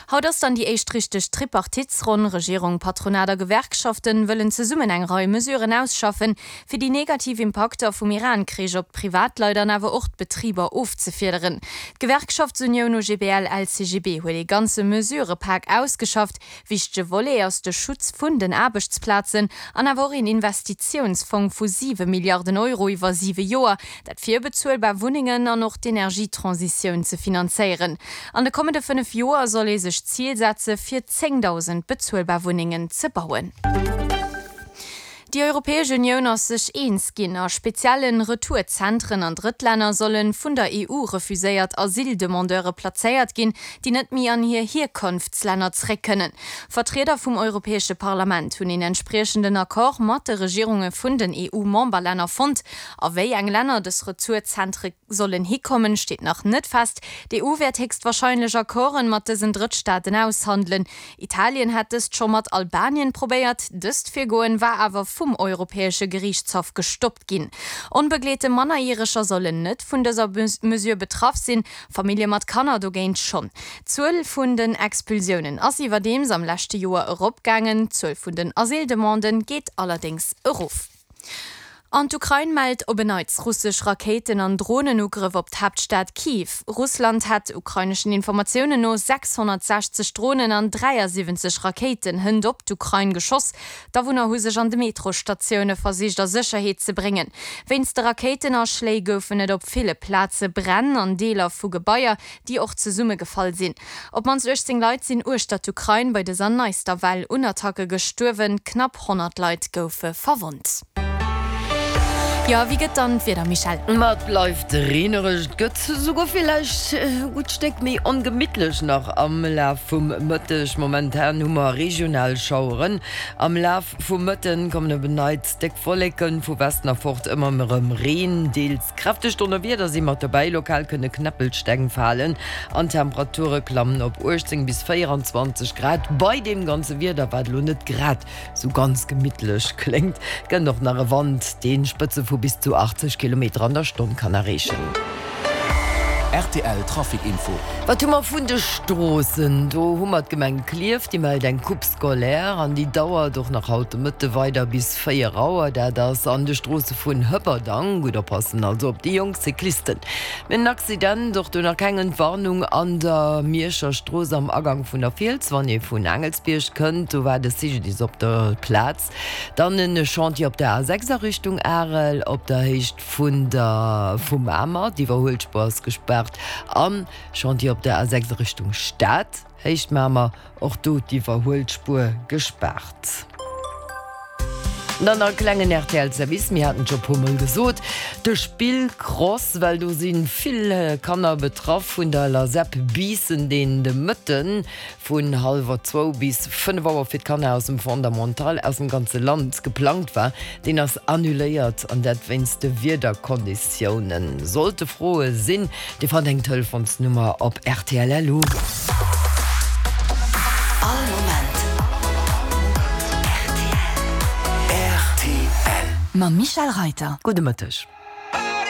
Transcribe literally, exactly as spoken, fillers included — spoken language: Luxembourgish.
Haut ass dann déi éischt richteg Tripartitsronn. Regierung, Patronat a Gewerkschaften wëllen zesummen eng Rei Mesuren ausschaffen, fir déi negativ Impakter vum Iran-Krich op d'Privatleit an awer och d'Betriber ofzefiederen. D'Gewerkschaftsunioun OGBL-LCGB huet ee ganze Mesurëpak ausgeschafft. Wichtege Volet ass de Schutz vun den Aarbechtsplazen an awer och een Investitiounsfong vu siwe Milliarden Euro iwwer siwe Joer, dat fir bezuelbar Wunnengen an och d'Energietransitioun ze finanzéieren. An de kommende fënnef Joer soll ee sech d'Zil setze fir zéngdausend bezuelbar Wunnengen ze bauen. Déi Europäesch Unioun ass sech eens ginn, a spezielle Retourzentren an Drëttlänner solle vun der E U refuséiert Asyldemandeure plazéiert ginn, déi net méi an hir Hierkonftslänner zréck kënnen. Vertrieder vum Europäesche Parlament hunn een entspriechenden Accord mat de Regierunge vun den E U-Memberlänner fonnt. A wéi eng Länner dës Retourzentre sollen hikommen, steet nach net fest. D'E U wäert héchstwarscheinlech Accorden mat dësen Drëttstaaten aushandelen. Italien hat dëst scho mat Albanien probéiert, dëst Virgoen war awer vum Europäesche Geriichtshaff gestoppt ginn. Onbegleete Mannerjäreger sollen net vun dëser Mesure betraff sinn, Famillje mat Kanner dogéint schonn. D'Zuel vun den Expulsiounen ass iwwerdeems am leschte Joer eropgaangen, d'Zuel vun den Asyldemanden geet allerdéngs erof. An d'Ukrain mellt op en Neits russesch Rakéiten an Dronenugrëff op d'Haaptstad Kiew. Russland hätt ukraineschen Informatiounen no sechshonnertsechzeg Dronen an dräiasiwwenzeg Rakéiten hënt op d'Ukrain geschoss. D'Awunner hu sech an de Metrosstatioune versicht a Sécherheet ze bréngen. Wéinst de Rakéitenaschléi goufen et op ville Plaze Bränn an Deeler vu Gebaier, déi och zesummegefall sinn. Op d'mannst uechtzéng Leit sinn uechter d'Ukrain bei dëser neister Well un Attacke gestuerwen, knapp honnert Leit goufe verwonnt. Jo, wéi gëtt dann d'Wieder, Michèle? Ma et bleift reenereg, et gëtt souguer villäicht e gutt Stéck méi ongemittlech nach am Laf vum Mëtteg. Momentan hu mer regional Schaueren. Am Laf vum Mëtten kommen op en Neits déck Wolleken, vu Westen erfort ëmmer erëm Reen, deels kräfteg Donnerwieder si mat dobäi. Lokal kënne Knäppelsteng falen an d'Temperature klammen op uechtzéng bis véierenzwanzeg Grad. Bei deem ganze Wieder, wat elo net grad sou ganz gemittlech kléngt, kënnt och nach e Wand, dee Spëtze vu bis zu achtzeg Kilometer an der Stonn kann erreechen. R T L Trafic Info. Wat hu mer vun de Stroossen? Do hu mer d'Gemeng Klierf, déi mellt eng Coupe scolaire an déi dauert och nach haut de Mëtte weider bis véier Auer. Dat ass an de Stroosse vun Hëpperdang. Gutt oppassen also op déi jonk Cyclisten. Mir hunn en Accident, och do nach keng Entwarnung, an der Mierscher Strooss am Agang vun der Fiels, wann ee vun Aangelsbierg kënnt. Do war de C G D I S op der Plaz. Dann en Chantier op der A sechs a Richtung Arel op der Héicht vun der vu Mamer, d'Iwwerhuelspuer ass gespaart. An Chantier op der A sechs a Richtung Stad, Héicht Mamer, och do d'Iwwerhuelspuer gespaart. Dann nach e klengen R T L Service, mir haten et scho puer mol gesot, de Spillcross, well do si vill Kanner betraff vun der Lasep Biissen, deen de Mëtten vun hallwer zwou bis fënnef Auer fir d'Kanner aus dem Fondamental aus dem ganze Land geplangt war, deen ass annuléiert an dat wéinst de Wiederkonditiounen. Sollte Froe sinn, Dir fannt eng Telefonsnummer op R T L L U. All Moment R T L. R T L. Mam Michèle Reiter. Gudde Mëtteg.